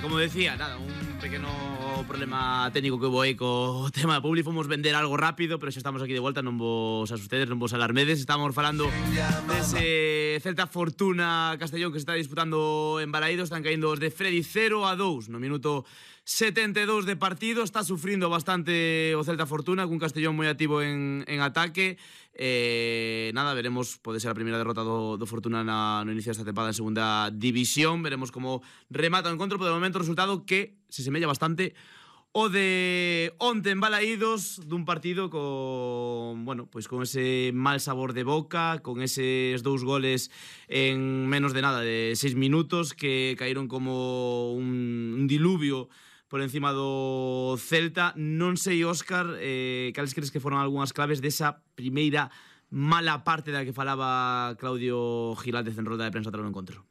Como decía, nada, un pequeno problema técnico que hubo aí co tema do público. Fomos vender algo rápido, pero xa estamos aquí de volta, non vos asustedes, non vos alarmedes. Estamos falando dese Celta Fortuna Castellón que se está disputando en Balaídos. Están caindo os de Freddy 0-2 no minuto 72 de partido. Está sufrindo bastante o Celta Fortuna, cun Castellón moi activo en ataque. Nada, veremos, pode ser a primeira derrota do Fortuna no inicio desta tempada en segunda división. Veremos como remata o encontro, pero de momento o resultado que se semella bastante o de onte en Balaídos, dun partido con, bueno, pois con ese mal sabor de boca, con eses 2 goles en menos de nada de 6 minutos que caíron como un diluvio por encima do Celta. Non sei, Óscar, cales crees que foron algunhas claves desa primeira mala parte da que falaba Claudio Giráldez en roda de prensa tras o encontro?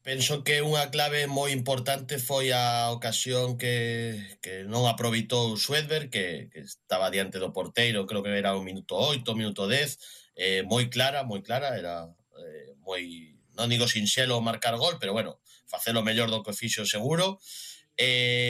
Penso que unha clave moi importante foi a ocasión que non aproveitou Schwedberg, que estaba diante do porteiro, creo que era o minuto 8, minuto 10, moi clara, era moi, non digo sinxelo marcar gol, pero bueno, facelo mellor do que fixo seguro.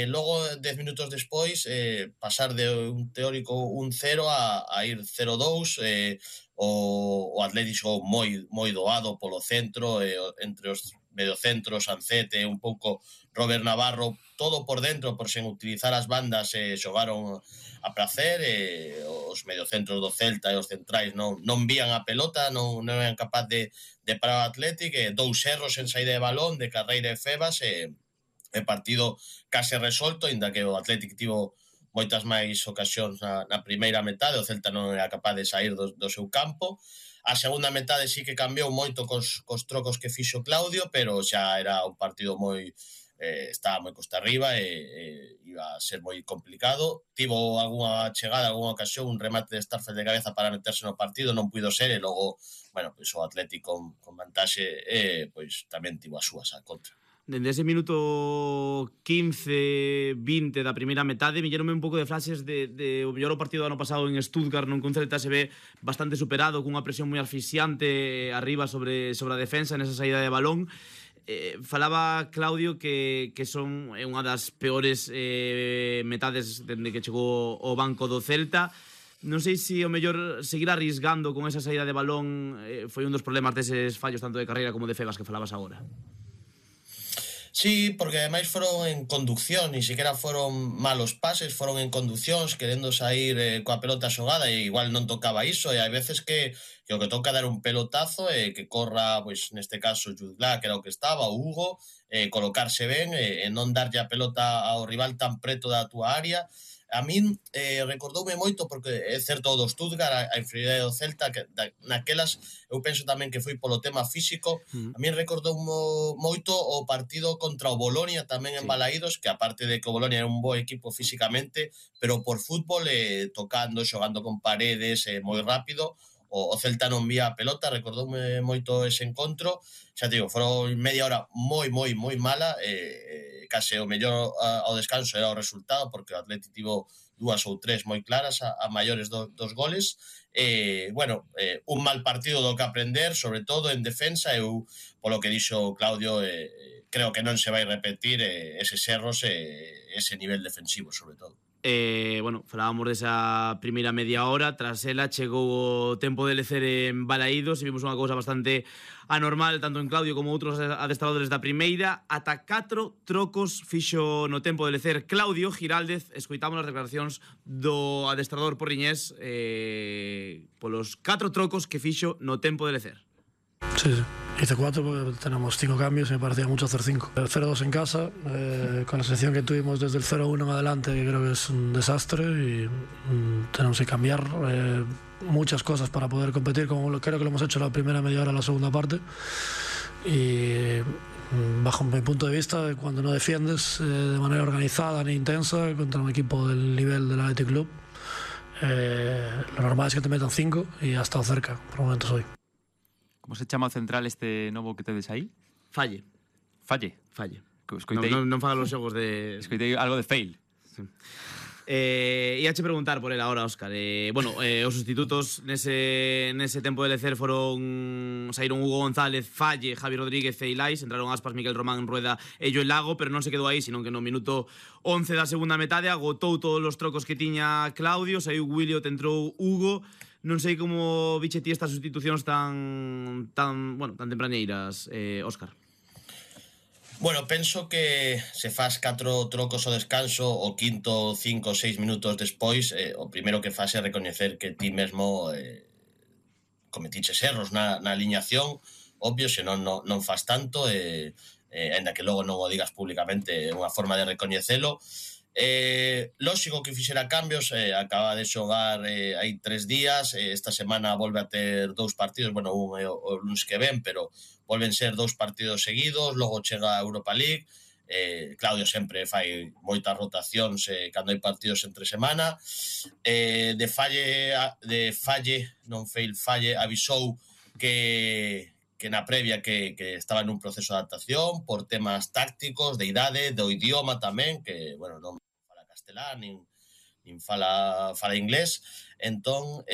Logo, 10 minutos despois, pasar de un teórico 1-0 a ir 0-2, o Atlético moi doado polo centro, entre os mediocentros, Ancete, un pouco Robert Navarro, todo por dentro, por sen utilizar as bandas, xogaron a placer. Os mediocentros do Celta e os centrais non vían a pelota, non eran capaz de parar o Atlético. 2 erros en saída de balón de Carreira e Febas, e partido case resolto, inda que o Atlético tivo moitas máis ocasións na primeira metade. O Celta non era capaz de sair do seu campo. A segunda metade sí que cambiou moito cos trocos que fixo Claudio, pero xa era un partido moi estaba moi costa arriba e iba a ser moi complicado. Tivo algunha chegada, algunha ocasión, un remate de Starfelt de cabeza para meterse no partido, non puido ser, e logo, bueno, pois o Atlético con vantaxe pois tamén tivo as súas a contra. Dende ese minuto 15-20 da primeira metade villeronme un pouco de flashes de o mellor o partido do ano pasado en Stuttgart, non, que un Celta se ve bastante superado, cunha presión moi asfixiante arriba sobre a defensa nesa saída de balón. Falaba Claudio que son unha das peores metades dende que chegou o banco do Celta. Non sei se o mellor seguir arrisgando con esa saída de balón foi un dos problemas deses fallos tanto de Carreira como de Febas que falabas agora. Sí, porque ademais foron en conducción, ni siquiera foron malos pases, foron en conduccións, querendo sair coa pelota xogada, e igual non tocaba iso, e hai veces que o que toca dar un pelotazo e que corra, pois neste caso Judlá, que era o que estaba, o Hugo, colocarse ben e non darlle a pelota ao rival tan preto da túa área. A min recordoume moito, porque é certo do Stuttgart, a inferioridade do Celta, que naquelas eu penso tamén que foi polo tema físico. A min recordoume moito o partido contra o Bolonia tamén en Balaídos, que aparte de que o Bolonia era un bo equipo físicamente, pero por fútbol, tocando, xogando con paredes, moi rápido, o Celta non vía a pelota. Recordoume moito ese encontro. Xa te digo, foron media hora moi mala, case o mellor ao descanso era o resultado, porque o Atlético tivo 2 ou 3 moi claras a maiores dos goles. Bueno, un mal partido do que aprender, sobre todo en defensa. Eu, polo que dixo Claudio, creo que non se vai repetir eses erros e ese nivel defensivo, sobre todo. Bueno, falábamos desa primeira media hora. Tras ela chegou o tempo de lecer en Balaídos e vimos unha cousa bastante anormal tanto en Claudio como outros adestradores da primeira. Ata 4 trocos fixo no tempo de lecer Claudio Giráldez. Escoitamos as declaracións do adestrador porriñés polos 4 trocos que fixo no tempo de lecer. Sí, hice 4 porque tenemos 5 cambios y me parecía mucho hacer 5. El 0-2 en casa, con la selección que tuvimos desde el 0-1 en adelante, que creo que es un desastre y tenemos que cambiar muchas cosas para poder competir, como creo que lo hemos hecho la primera media hora, la segunda parte. Y bajo mi punto de vista, cuando no defiendes de manera organizada ni intensa contra un equipo del nivel del Athletic Club, lo normal es que te metan 5 y ha estado cerca, por momentos hoy. Como se chama o central este novo que tedes aí? Falle. Falle? Falle. Escoitei... Non fagan os xogos de... Escoitei algo de fail. Sí. Iache preguntar por él ahora, Óscar. Bueno, os sustitutos nese tempo de lecer saíron Hugo González, Falle, Javi Rodríguez e Ilais, entraron Aspas, Miguel Román, Rueda e Joel Lago, pero non se quedou aí, senón que no minuto 11 da segunda metade agotou todos os trocos que tiña Claudio, saiu Williot, entrou Hugo. Non sei como viche ti estas sustitucións tan tempraneiras, Óscar. Bueno, penso que se faz 4 trocos ao descanso, o quinto 5 ou 6 minutos despois, o primeiro que faz é recoñecer que ti mesmo cometiches erros na aliñación, obvio, senón non faz tanto, ainda que logo non o digas públicamente, é unha forma de recoñecelo. Lóxico que fixera cambios, acaba de xogar hai 3 días, esta semana volve a ter 2 partidos, bueno, un é o lunes que ven, pero volven ser 2 partidos seguidos, logo chega a Europa League. Claudio sempre fai moitas rotacións cando hai partidos entre semana. De Falle avisou que na previa que estaba nun proceso de adaptación por temas tácticos, de idade, do idioma tamén, que, bueno, non fala castelán, nin fala inglés. Entón,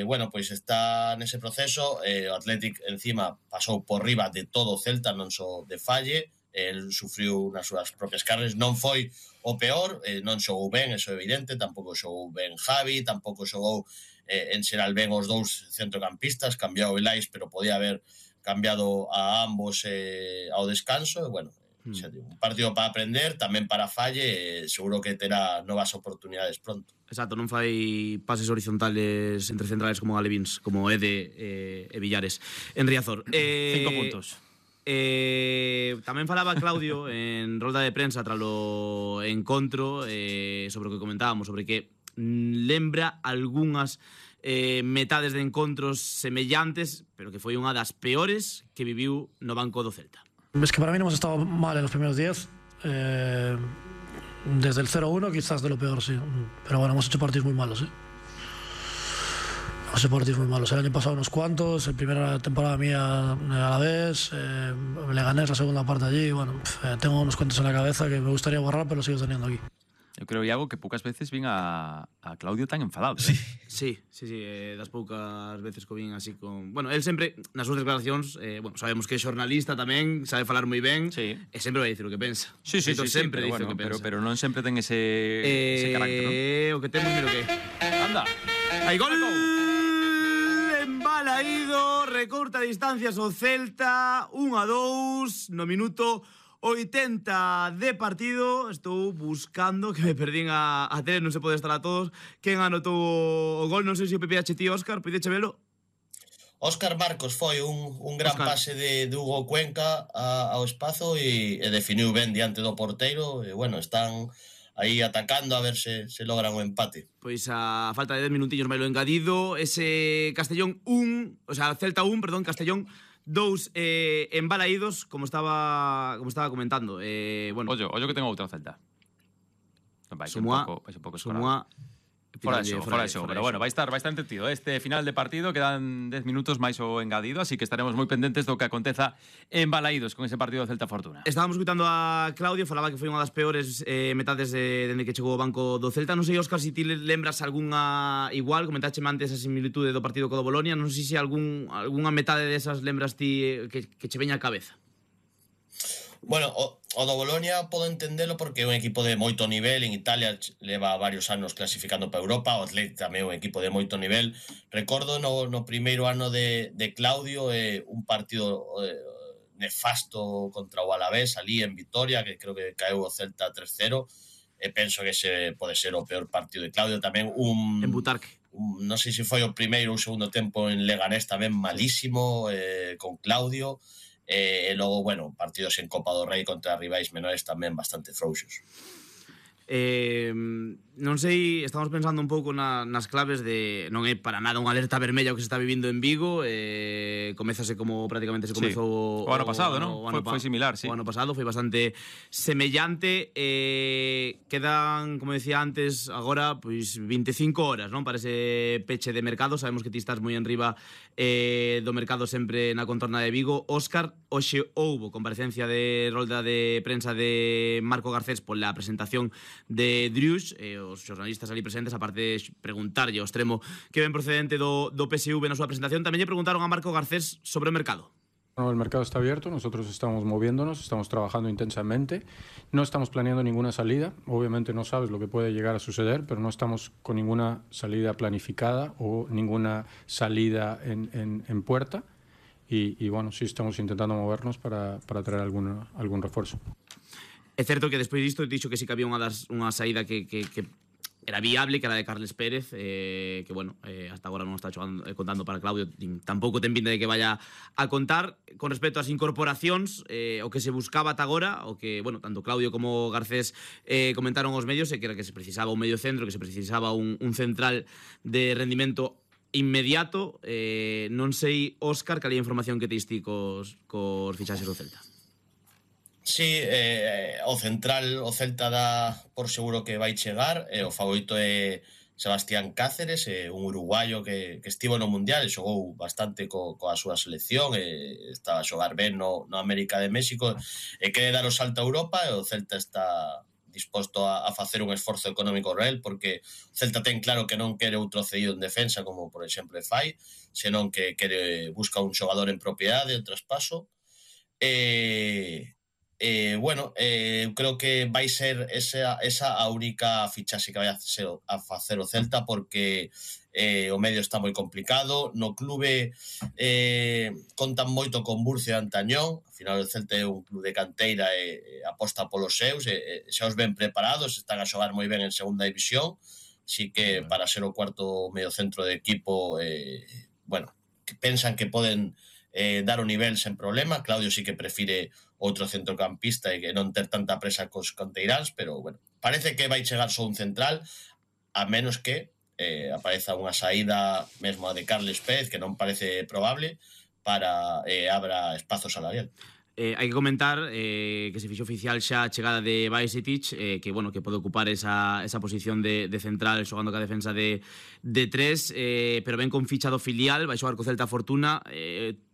bueno, pois está nese proceso. O Athletic encima pasou por riba de todo o Celta, non só de Falle. El sufriu nas súas propias carnes, non foi o peor, non xogou ben, eso é evidente, tampouco xogou ben Javi, tampouco xogou en xeral ben os dous centrocampistas, cambiou Ilais, pero podía haber cambiado a ambos ao descanso. E, bueno, un partido para aprender, tamén para Falle, seguro que terá novas oportunidades pronto. Exacto, non fai pases horizontales entre centrales como Alevins, como Ede e Villares. En Riazor. 5 puntos. Tamén falaba Claudio en rolda de prensa tras o encontro sobre o que comentábamos, sobre que lembra algunhas metades de encontros semellantes, pero que foi unha das peores que viviu no banco do Celta. Es que para mí no hemos estado mal en los primeros 10. Desde el 0-1 quizás de lo peor, sí. Pero bueno, hemos hecho partidos muy malos, ¿eh? Hemos hecho partidos muy malos. El año pasado unos cuantos, la primera temporada mía a la vez, Leganés la segunda parte allí. Bueno, tengo unos cuantos en la cabeza que me gustaría borrar, pero lo sigo teniendo aquí. Eu creo, Iago, que poucas veces vin a Claudio tan enfadado. Sí, das poucas veces que vin así con... Bueno, él sempre, nas súas declaracións, bueno, sabemos que é xornalista tamén, sabe falar moi ben, sí. E sempre vai dicir o que pensa. Sí, sempre pero, dice bueno, o que pensa. Pero non sempre ten ese carácter, non? O que temos, mira o que... Anda! Hai gol! Embalaído, recorta distancias o Celta, 1-2, no minuto 80 de partido. Estou buscando, que me perdín a tele, non se pode estar a todos. Quen anotou o gol? Non sei se o PPH ti, Óscar, poideche velo? Óscar Marcos foi un gran pase de Hugo Cuenca ao espazo e definiu ben diante do porteiro. E, bueno, están aí atacando a ver se logran o empate. Pois a falta de 10 minutillos máis lo engadido, ese Castellón 1, o sea, Celta 1, perdón, Castellón 2 embalaídos, como estaba comentando. Bueno, ollo que tengo outra Celta. Vai un pouco Sumua, fora de xogo, pero bueno, vai estar entretido este final de partido, quedan 10 minutos máis o engadido, así que estaremos moi pendentes do que aconteza en Balaídos con ese partido de Celta Fortuna. Estábamos escutando a Claudio, falaba que foi unha das peores metades dende que chegou o banco do Celta. Non sei, Óscar, se ti lembras algunha igual, comentache antes a similitude do partido co do Bolonia, non sei se algunha metade desas lembras ti que che veña a cabeza. Bueno, o do Bolonia podo entendelo porque é un equipo de moito nivel. En Italia leva varios anos clasificando para Europa. O Athletic tamén é un equipo de moito nivel. Recordo no primeiro ano de Claudio un partido nefasto contra o Alavés ali en Vitoria, que creo que caeu o Celta 3-0. E penso que ese pode ser o peor partido de Claudio. Tamén en Butarque. Non sei se foi o primeiro ou o segundo tempo en Leganés tamén malísimo con Claudio. E logo, bueno, partidos en Copa do Rei contra rivais menores tamén bastante frouxos. Non sei, estamos pensando un pouco nas claves de... Non é para nada unha alerta vermella o que se está vivindo en Vigo. Comezase como prácticamente se comezou o ano pasado, non? Foi similar, sí. O ano pasado foi bastante semellante. Quedan, como decía antes, agora pois 25 horas, non? Para ese peche de mercado. Sabemos que ti estás moi enriba do mercado sempre na contorna de Vigo. Óscar, hoxe houbo comparecencia de rolda de prensa de Marco Garcés pola presentación Drius, os xornalistas ali presentes, aparte de preguntarlle ao extremo que ven procedente do PSV na súa presentación, tamén lle preguntaron a Marco Garcés sobre o mercado. Bueno, el mercado está abierto, nosotros estamos moviéndonos, estamos trabajando intensamente, no estamos planeando ninguna salida, obviamente no sabes lo que puede llegar a suceder, pero no estamos con ninguna salida planificada o ninguna salida en puerta y bueno, sí estamos intentando movernos para traer algún refuerzo. É certo que despois disto dixo que sí que había unha saída que era viable, que era de Carles Pérez, que, bueno, hasta agora non está contando para Claudio, tampouco ten pinta de que vaya a contar. Con respecto ás incorporacións, o que se buscaba ata agora, o que, bueno, tanto Claudio como Garcés comentaron aos medios, que era que se precisaba un medio centro, que se precisaba un central de rendimento inmediato. Non sei, Óscar, cal é a información que teis ti cos fichaxes do Celta? Sí, o central, o Celta dá por seguro que vai chegar, o favorito é Sebastián Cáceres, un uruguayo que estivo no Mundial e xogou bastante coa súa selección, estaba a xogar ben no América de México e quere dar o salto a Europa e o Celta está disposto a facer un esforzo económico real porque o Celta ten claro que non quere outro cedido en defensa como por exemplo fai, senón que busca un xogador en propiedade, en traspaso. Bueno, creo que vai ser esa a única fichaxe que vai a facer o Celta porque o medio está moi complicado. No clube contan moito con Murcia e Antañón. Ao final o Celta é un club de canteira e aposta polos seus, xa os ben preparados, están a xogar moi ben en segunda división, así que para ser o cuarto mediocentro de equipo, bueno, que pensan que poden dar o nivel sen problema. Claudio sí que prefire outro centrocampista e que non ter tanta presa cos canteiráns, pero bueno, parece que vai chegar só un central, a menos que apareza unha saída mesmo a de Carles Pérez, que non parece probable, para abra espazo salarial. Hai que comentar que se fixo oficial xa a chegada de Bajcetic, que, bueno, que pode ocupar esa posición de central xogando ca defensa de tres, pero ben con ficha do filial, vai xogar co Celta Fortuna.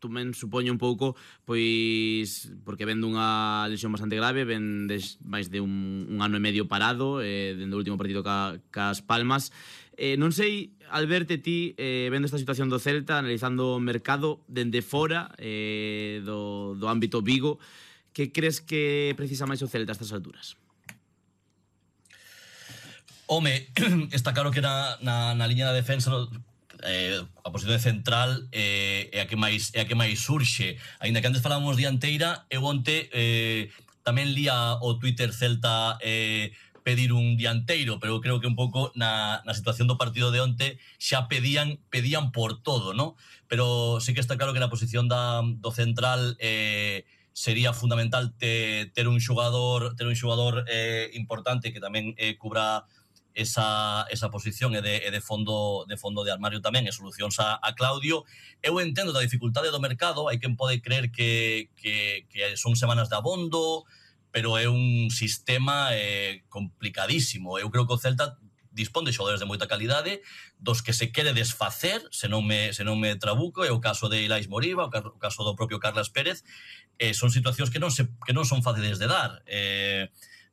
Tamén supoño un pouco, pois porque ven dunha lesión bastante grave, ven máis de un ano e medio parado, dende o último partido cas Palmas. Non sei, Alberto, ti, vendo esta situación do Celta, analizando o mercado dende fora do ámbito Vigo, que crees que precisa máis o Celta a estas alturas? Home, está claro que na liña da defensa a posición de central é a que máis surxe. Aínda que antes falábamos dianteira, eu onte tamén lía o Twitter Celta pedir un dianteiro, pero creo que un pouco na situación do partido de onte xa pedían por todo, ¿no? Pero sí que está claro que na posición do central sería fundamental ter un xogador importante que tamén cubra esa posición e de fondo de armario tamén, e solucións a Claudio. Eu entendo da dificultade do mercado, hai quen pode creer que son semanas de abondo, pero é un sistema complicadísimo. Eu creo que o Celta dispón de xogadores de moita calidade, dos que se quere desfacer, se non me trabuco, é o caso de Ilais Moriba, o caso do propio Carles Pérez. Son situacións que non son fáciles de dar.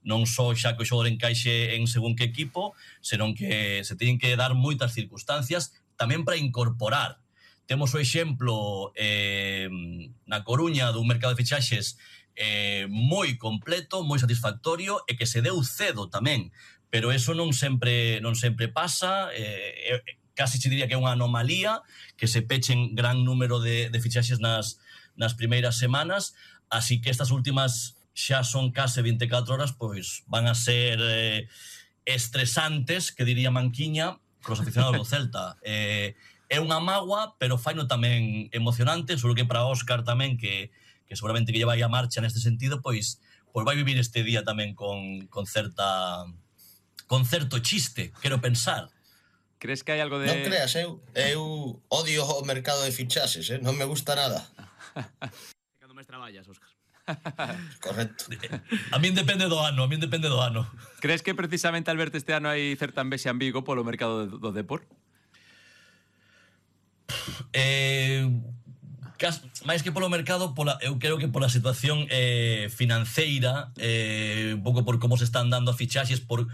Non só xa que o xogador encaixe en según que equipo, senón que se teñen que dar moitas circunstancias tamén para incorporar. Temos o exemplo na Coruña dun mercado de fichaxes moi completo, moi satisfactorio e que se deu cedo tamén, pero eso non sempre pasa. Casi se diría que é unha anomalía que se pechen gran número de fichaxes nas primeiras semanas, así que estas últimas xa son case 24 horas, pois van a ser estresantes, que diría Manquiña, cos aficionados do Celta. É unha mágoa, pero faino tamén emocionante, seguro que para Óscar tamén, que seguramente que lle vai a marcha neste sentido, pois vai vivir este día tamén con certo chiste, quero pensar. Crees que hai algo de... Non creas, eu odio o mercado de fichaxes, non me gusta nada. Cando máis traballas, Óscar. Correcto. A min depende do ano. Crees que precisamente, Alberto, este ano hai certa envexa en Vigo polo mercado do Depor? máis que polo mercado, eu creo que pola situación financeira, un pouco por como se están dando as fichaxes, por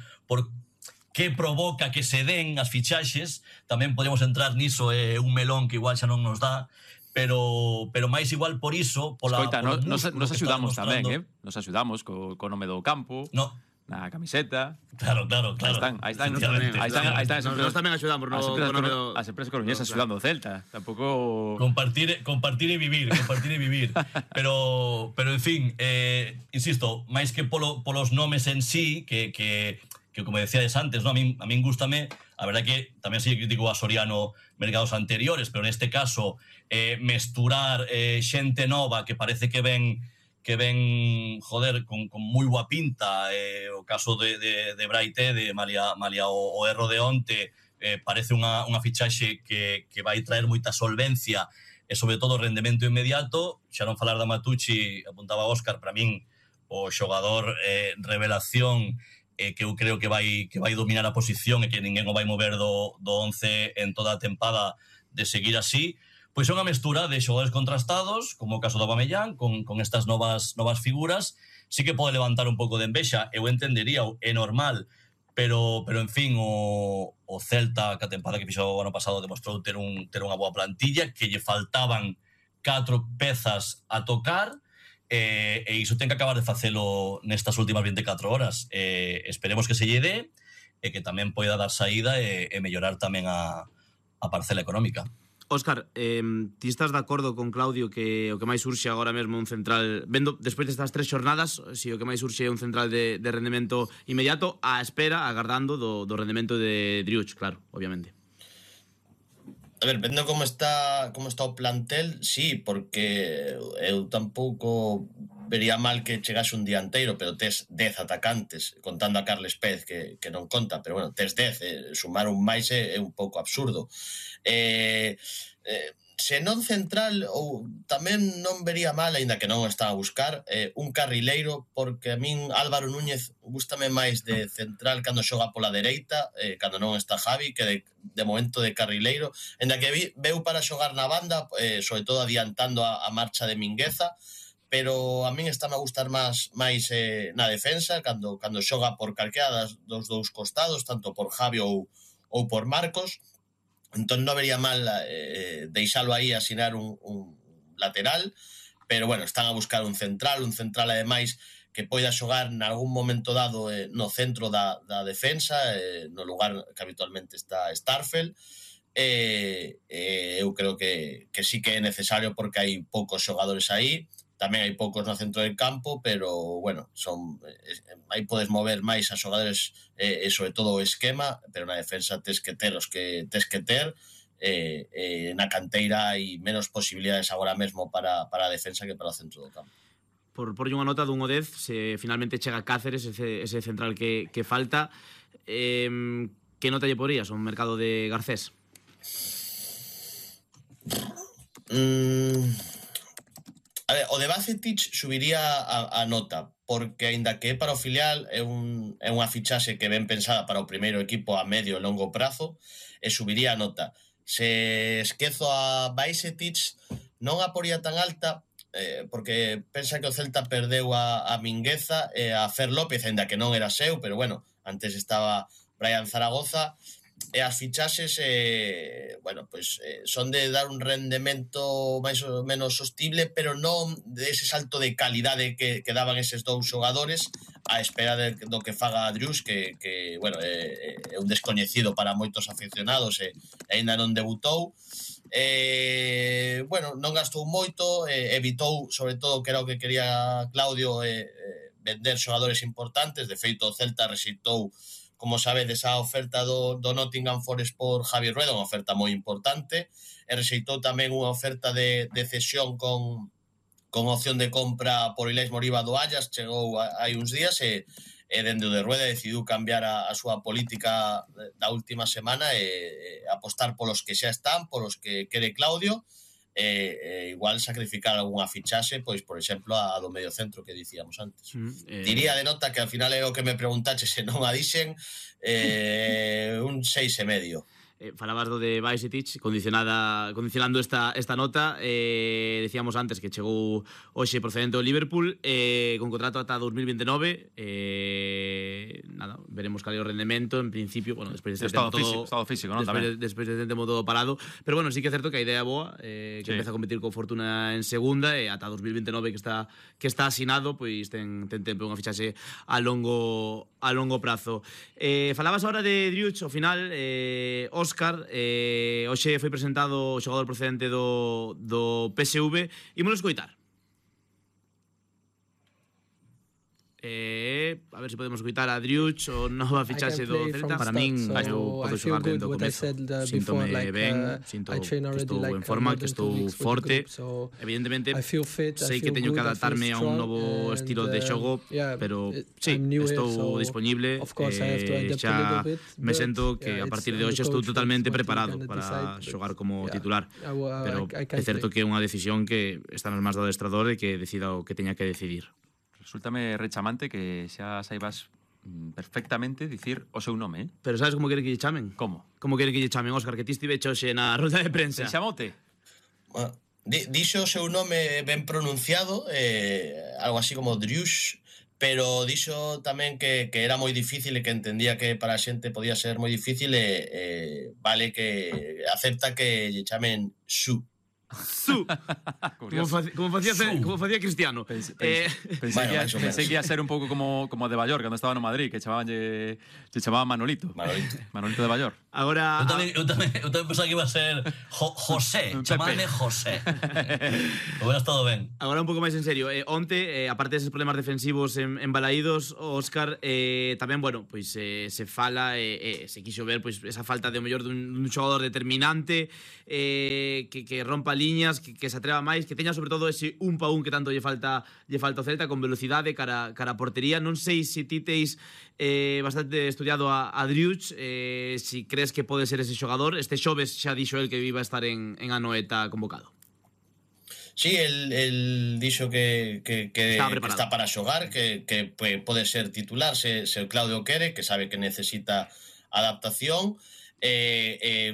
que provoca que se den as fichaxes. Tamén podemos entrar niso, un melón que igual xa non nos dá, pero máis igual por iso, Escoita, nos axudamos tamén, nos axudamos co nome do campo. No. Na camiseta. Claro. Aí están. Nos tamén axudamos. As empresas coruñesas axudando o Celta. Tampouco... Compartir e vivir. Pero en fin, insisto, máis que polos nomes en sí, que como decíades antes, ¿no? A min gústame, a verdad que tamén sei crítico a Soriano mercados anteriores, pero neste caso mesturar xente nova que parece que ven, joder, con moi boa pinta, o caso de Braite, de malia o erro de onte, parece unha fichaxe que vai traer moita solvencia e sobre todo rendemento inmediato. Xa non falar da Matucci, apuntaba Óscar, para min o xogador revelación, que eu creo que vai dominar a posición e que ninguén o vai mover do 11 en toda a tempada de seguir así. Pois é unha mestura de xogadores contrastados, como o caso do Aubameyang, con estas novas figuras. Sí que pode levantar un pouco de envexa, eu entendería, é normal, pero en fin, o Celta, que a tempada que fixo o ano pasado, demostrou ter unha boa plantilla, que lle faltaban 4 pezas a tocar, e iso ten que acabar de facelo nestas últimas 24 horas. Esperemos que se lle dé, e que tamén poida dar saída e mellorar tamén a parcela económica. Óscar, ti estás de acordo con Claudio que o que máis urxe agora mesmo un central, vendo despois destas 3 xornadas, si o que máis urxe é un central de rendemento inmediato, á espera, agardando do rendemento de Driouch, claro, obviamente. A ver, vendo como está o plantel, sí, porque eu tampouco vería mal que chegase un dianteiro, pero tes 10 atacantes, contando a Carles Pérez, que non conta, pero bueno, tes 10, sumar un máis é un pouco absurdo. Se non central, ou tamén non vería mal, aínda que non o está a buscar, un carrileiro, porque a min Álvaro Núñez gústame máis de central cando xoga pola dereita, cando non está Javi, que de momento de carrileiro, aínda que veu para xogar na banda, sobre todo adiantando a marcha de Mingueza, pero a min está a gustar máis na defensa, cando xoga por calquera dos dous costados, tanto por Javi ou por Marcos. Entón non vería mal deixalo aí, asinar un lateral, pero bueno, están a buscar un central ademais que poida xogar nalgún momento dado no centro da defensa, no lugar que habitualmente está Starfel. Eu creo que sí que é necesario, porque hai poucos xogadores aí, tamén hai poucos no centro del campo, pero bueno, aí podes mover máis a xogadores e sobre todo o esquema, pero na defensa tes que ter os que tes que ter, na canteira hai menos posibilidades agora mesmo para a defensa que para o centro do campo. Por unha nota dun 10, se finalmente chega Cáceres, ese central que falta, que nota lle porías ao mercado de Garcés? A ver, o de Bacetich subiría a nota, porque aínda que é para o filial, é unha fichaxe que ven pensada para o primeiro equipo a medio e longo prazo, e subiría a nota. Se esquezo a Bacetich, non a poría tan alta, porque pensa que o Celta perdeu a Mingueza e a Fer López, aínda que non era seu, pero bueno, antes estaba Brian Zaragoza, e as fichaxes son de dar un rendemento máis ou menos sostible, pero non de ese salto de calidade que daban eses dous xogadores, a espera do que faga Driouch, que é un descoñecido para moitos aficionados e aínda non debutou. Non gastou moito, evitou, sobre todo, que era o que quería Claudio, vender xogadores importantes. De feito, o Celta rexeitou, como sabedes, a oferta do Nottingham Forest por Javi Rueda, unha oferta moi importante, e rexeitou tamén unha oferta de cesión con opción de compra por Ilais Moriba do Ajax. Chegou hai uns días e dende o de Rueda decidiu cambiar a súa política da última semana e apostar polos que xa están, polos que quere Claudio, igual sacrificar algunha fichaxe, pois, por exemplo, a do medio centro que dicíamos antes. Diría de nota, que al final é o que me preguntache, se non a dixen, un 6,5. falabas do de Bajcetic condicionando esta nota. Decíamos antes que chegou hoxe procedente do Liverpool con contrato ata 2029. Nada, veremos cal é o rendemento. En principio, bueno, despois de estado físico, ¿no? Despois de tempo todo parado, pero bueno, sí que é certo que a idea é boa, que empeza a competir con Fortuna en segunda e ata 2029 que está asinado, pois ten tempo unha fichaxe a longo prazo. Falabas ahora de Driouch, ao final, Óscar, hoxe foi presentado o xogador procedente do PSV. Ímolo escoitar. A ver se podemos escoitar a Driouch, o nova fichaxe do Celta. Para min, eu podo xogar dentro do comezo. Síntome ben, sinto que estou en forma, que estou forte. Evidentemente, sei que teño que adaptarme a un novo estilo de xogo, pero sí, estou disponible. Xa me sento que a partir de hoxe estou totalmente preparado para xogar como titular. Pero é certo que é unha decisión que está nas mans do adestrador e que decida o que teña que decidir. Resúltame rechamante que xa saibas perfectamente dicir o seu nome, Pero sabes como quere que lle chamen? Como? Como quere que lle chamen, Óscar, que ti estiveche hoxe na rueda de prensa? Se chamote? Bueno, dixo o seu nome ben pronunciado, algo así como Driouch, pero dixo tamén que era moi difícil e que entendía que para a xente podía ser moi difícil vale que acepta que lle chamen Su. Su. Como facía Cristiano. Pensei que ia ser un pouco como de Ballor, cando estaba no Madrid, que chamaban Manolito. Manolito de Ballor. Agora eu tamén pensaba que iba a ser José, chamadme José. Hubiera estado ben. Agora un pouco máis en serio, onte, aparte deses problemas defensivos en Balaídos, Óscar, tamén, bueno, pois se fala, se quixo ver pois esa falta de o mellor dun xogador determinante, que rompa liñas, que se atreva máis, que teña sobre todo ese un pa un que tanto lle falta ao Celta, con velocidade cara a portería. Non sei se ti teis bastante estudiado a Driouch, si crees que pode ser ese xogador. Este xoves xa dixo el que iba a estar en Anoeta convocado. Sí, el dixo que está para xogar, que pode ser titular se o Claudio quere, que sabe que necesita adaptación.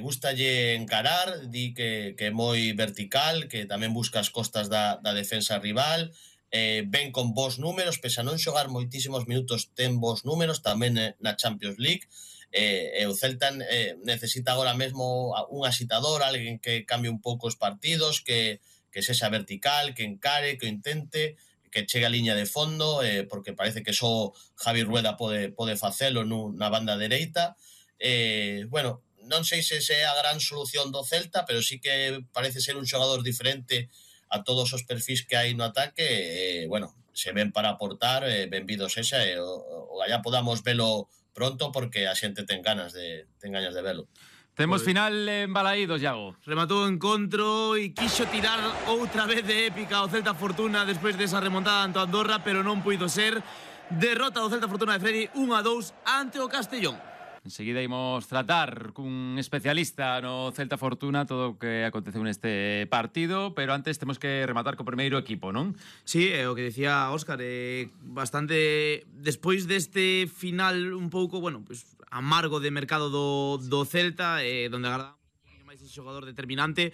Gustalle encarar, di que é moi vertical, que tamén busca as costas da defensa rival, ven con bons números, pese a non xogar moitísimos minutos, ten bons números tamén na Champions League. O Celta necesita agora mesmo un asitador, alguén que cambie un pouco os partidos, que sexa vertical, que encare, que intente, que chegue a liña de fondo, porque parece que só Javi Rueda pode facelo na banda dereita. Bueno, non sei se é a gran solución do Celta, pero sí que parece ser un xogador diferente a todos os perfis que hai no ataque. Bueno, se ven para aportar, benvido sexa, allá podamos velo pronto, porque a xente ten ganas de velo. Temos final en Balaídos, Iago. Rematou o encontro e quixo tirar outra vez de épica o Celta Fortuna despois desa remontada ante Andorra, pero non puido ser. Derrota do Celta Fortuna de Freddy 1-2 ante o Castellón. Enseguida imos tratar cun especialista no Celta Fortuna todo o que aconteceu neste partido, pero antes temos que rematar co primeiro equipo, non? Sí, o que decía Óscar, bastante despois deste final un pouco, bueno, pues amargo de mercado do Celta, donde agardamos un poquinho máis ese xogador determinante,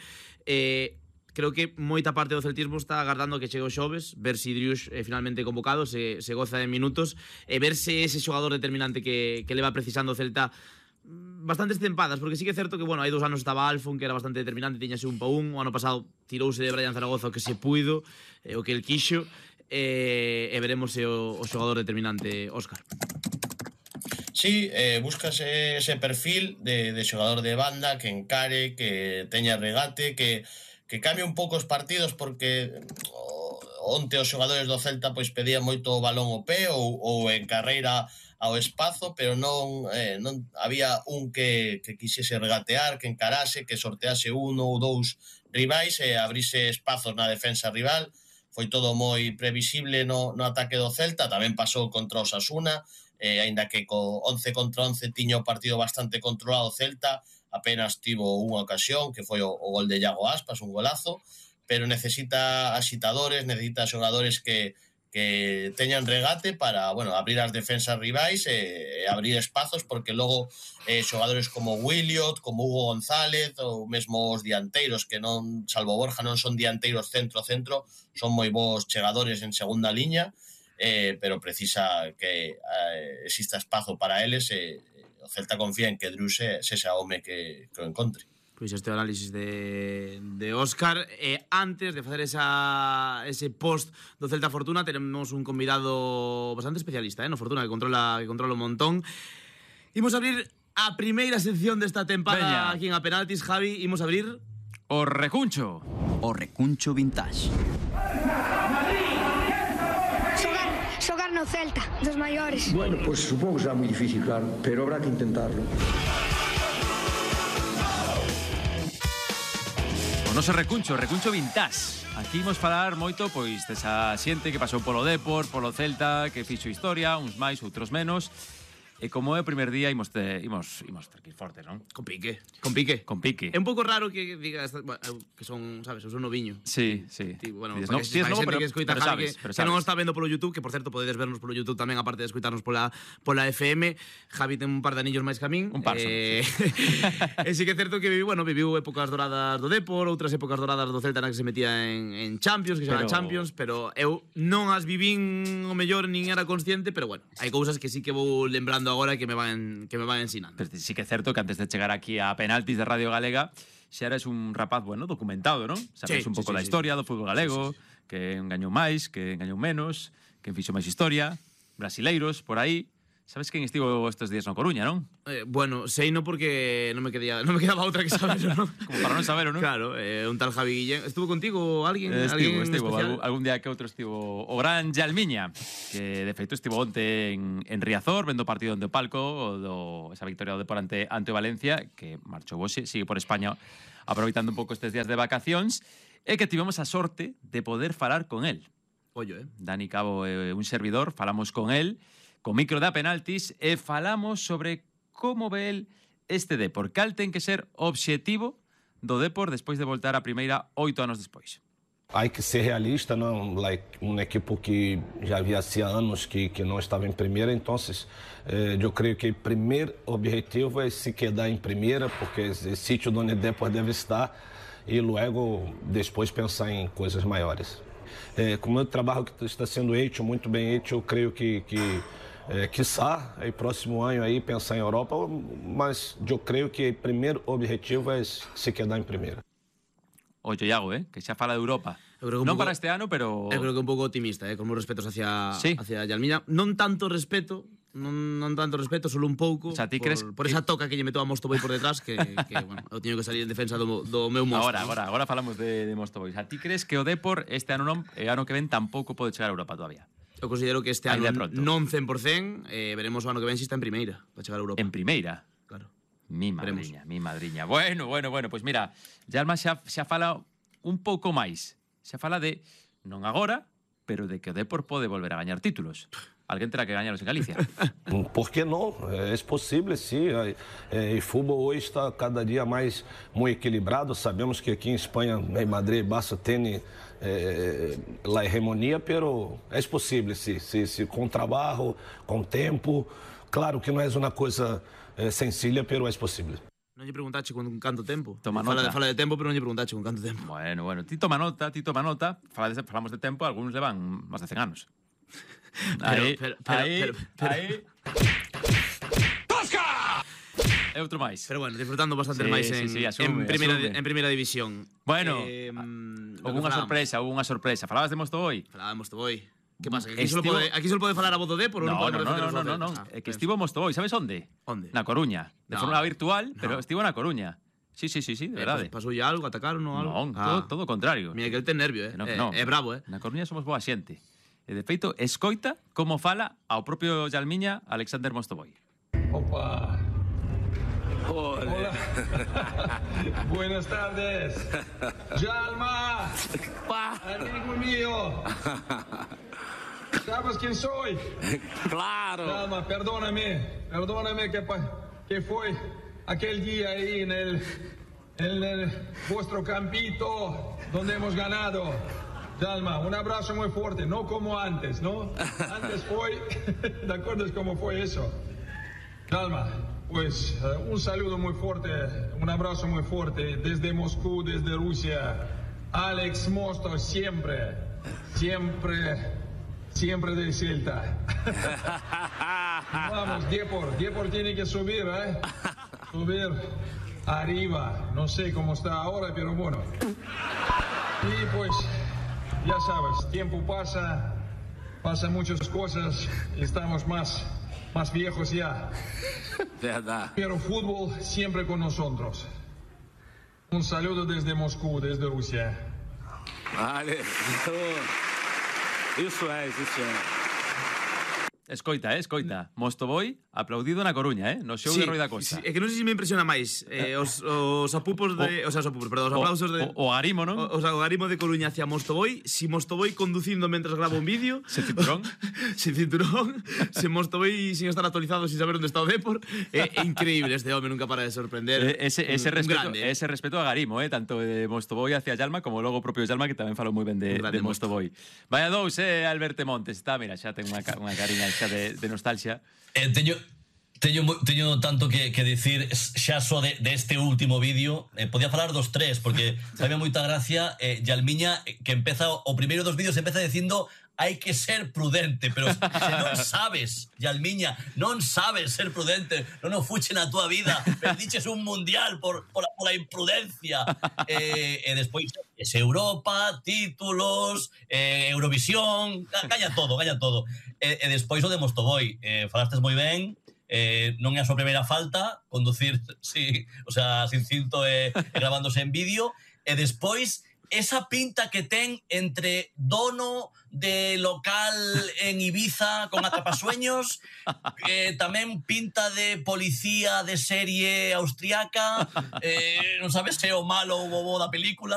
creo que moita parte do celtismo está agardando que chegue o xoves, ver se Driouch é finalmente convocado, se goza de minutos, e ver se ese xogador determinante que leva precisando o Celta bastantes tempadas, porque sí que é certo que, bueno, hai 2 anos estaba Alfon, que era bastante determinante, tiñase un pa un, o ano pasado tirouse de Brian Zaragoza o que se puido, o que el quixo, e veremos se o xogador determinante, Óscar. Sí, buscas ese perfil de xogador de banda que encare, que teña regate, que cambie un pouco os partidos, porque onte os xogadores do Celta pois pedían moito o balón ao pé ou en carreira ao espazo, pero non había un que quixese regatear, que encarase, que sortease 1 ou 2 rivais e abrise espazos na defensa rival. Foi todo moi previsible no ataque do Celta. Tamén pasou contra o Osasuna, aínda que co 11 contra 11 tiña o partido bastante controlado o Celta, apenas tivo unha ocasión, que foi o gol de Iago Aspas, un golazo, pero necesita asitadores, necesita xogadores que teñan regate para, bueno, abrir as defensas rivais e abrir espazos, porque logo xogadores como Williot, como Hugo González ou mesmo os dianteiros, que non, salvo Borja, non son dianteiros centro, son moi bons chegadores en segunda liña, pero precisa que exista espazo para eles, o Celta confía en que Drew sexa home que o encontre. Pois este análisis de Óscar. Antes de facer ese post do Celta Fortuna, tenemos un convidado bastante especialista, no Fortuna, que controla un montón. Imos abrir a primeira sección desta tempada aquí en A Penaltis, Javi. Imos abrir o recuncho. O recuncho vintage. Xogar no Celta, dos maiores. Bueno, pues supongo que será moi difícil, claro, pero habrá que intentarlo. O noso recuncho vintage. Aquí imos falar moito pois desa xente que pasou polo Depor, polo Celta, que fixo historia, uns máis, outros menos. E como é o primer día, imos ter que ir fortes, non? Con pique. É un pouco raro que digas que son, sabes, son noviño. Sí. Bueno, si es novo, pero sabes. Que non está vendo polo YouTube, que por certo podedes vernos polo YouTube tamén, aparte de escoitarnos pola FM. Javi ten un par de anillos máis que a min. Un par, E sí que é certo que viviu épocas doradas do Depor, outras épocas doradas do Celta na que se metía en Champions, que se chama Champions, pero eu non as vivín o mellor, nin era consciente, pero bueno, hai cousas que sí que vou lembrando agora que me van ensinando. Pero sí que é certo que antes de chegar aquí a Penaltis de Radio Galega xa eres un rapaz, bueno, documentado, non? Sabes un pouco da historia do fútbol galego, que engañou máis, que engañou menos, que fixo máis historia, brasileiros por aí. Sabes quen estivo estes días na Coruña, non? Bueno, sei no porque non me quedaba outra que saber, non? Como para non saber, non? Claro, un tal Javi Guillén. Estuvo contigo alguén? Estivo. Algún día que outro estivo o gran Yalmiña, que de feito estivo onte en Riazor, vendo partido onde o palco, esa victoria do Depor ante o Valencia, que marchou hoxe, sigue por España, aproveitando un pouco estes días de vacacións, e que tivemos a sorte de poder falar con él. Ollo, Dani Cabo é un servidor, falamos con él, con micro da Penaltis, e falamos sobre como ve el este Depor. Cal ten que ser o obxectivo do Depor despois de voltar a primeira 8 anos despois. Hay que ser realista, ¿no? Un equipo que ya había hacía años que no estaba en primera, entonces yo creo que el primer objetivo es se quedar en primera, porque es el sitio donde Depor debe estar, y luego después pensar en cosas mayores. Como el trabajo que está siendo hecho, muy bien hecho, creo que quizá el próximo año aí pensar en Europa, mas yo creo que el primer objetivo es se quedar en primera. Oye, Iago, que xa fala de Europa. Non para este ano, pero... Eu creo que un pouco optimista, con os respetos hacia Yalmiña. Non tanto respeto, solo un pouco, o sea, ti crees por esa toca que lle metou a Mostovoy por detrás, que bueno, eu teño que salir en defensa do meu monstro. Agora falamos de Mostovoy. A ti crees que o Depor este ano non, e ano que ven tampouco pode chegar a Europa todavía? Eu considero que este ano non 100%, veremos o ano que ven se está en primeira para chegar a Europa. En primeira? Claro. Mi madriña. Bueno, pues mira, Yalma xa fala un pouco máis. Xa fala de, non agora, pero de que o Depor pode volver a gañar títulos. Alguén terá que gañaros en Galicia. ¿Por qué no? Es posible, sí. El fútbol hoy está cada día más muy equilibrado. Sabemos que aquí en España, en Madrid, Barça tiene la hegemonía, pero es posible, sí. Con trabajo, con tiempo. Claro que no es una cosa sencilla, pero es posible. Non lle preguntache con canto tempo. Fala de tempo, pero non lle preguntache con canto tempo. Bueno, ti toma nota. Falamos de tempo, algúns levan máis de 100 anos. Aí. ¡Tosca! E outro máis. Pero bueno, disfrutando bastante máis en primeira división. Bueno, houve unha sorpresa. Falabas de Mostovoy? Falaba de Mostovoy. Que pasa? Que aquí solo pode falar a voz do Depor? No. É que estivo Mostovoy, sabes onde? Onde? Na Coruña. De forma virtual, pero estivo na Coruña. Sí, de verdade. Pasoulle algo, atacaron ou algo? Non, todo o contrario. Mira que el ten nervio, é bravo, Na Coruña somos boa xente. E de feito, escoita como fala ao propio Yalmiña Alexander Mostovoy. Opa. Hola. Buenas tardes. Yalma. Amigo mío. ¿Sabes quién soy? Claro. Yalma, perdóname que fue aquel día ahí en el vuestro campito donde hemos ganado. Jalma, un abrazo muy fuerte, no como antes, ¿no? Antes fue, ¿te acuerdas cómo fue eso? Jalma, pues un saludo muy fuerte, un abrazo muy fuerte desde Moscú, desde Rusia. Alex Mosto, siempre del Celta. Vamos, Depor tiene que subir, subir arriba. No sé cómo está ahora, pero bueno. Y pues, ya sabes, tiempo pasan muchas cosas, estamos más viejos ya. Verdad. Pero fútbol siempre con nosotros. Un saludo desde Moscú, desde Rusia. Vale. Iso é. Escoita. Mostovoy aplaudido na Coruña, no xogo de Roi da Costa. É que non sei se me impresiona máis os apupos de... os aplausos de... O Garimo, non? O Garimo de Coruña hacia Mostovoy. Si Mostovoy conducindo mentras grava un vídeo... Sen cinturón. Sen cinturón. Se Mostovoy sin estar actualizado, sin saber onde está o Depor. É increíble, este home nunca para de sorprender. Ese respeto a Garimo, tanto de Mostovoy hacia Jalma como logo o propio Jalma, que tamén falou moi ben de Mostovoy. Vaya dous, Alberto Montes. Mira, xa ten unha cariña xa de nostalgia. Teño tanto que decir xa só de este último vídeo. Podía falar dos tres, porque sabe moita gracia Jalmiña, que empeza o primeiro dos vídeos empeza dicindo hai que ser prudente, pero se non sabes, Jalmiña, non sabes ser prudente, non o fuche na túa vida, perdiches un mundial por a imprudencia. E despois es Europa, títulos, Eurovisión, gaña todo. E despois o de Mostovoy, falastes moi ben. Non é a súa primeira falta, conducir sin cinto e gravándose en vídeo, e despois esa pinta que ten entre dono de local en Ibiza con atrapasueños, tamén pinta de policía de serie austriaca, non sabes se é o malo ou o bo da película.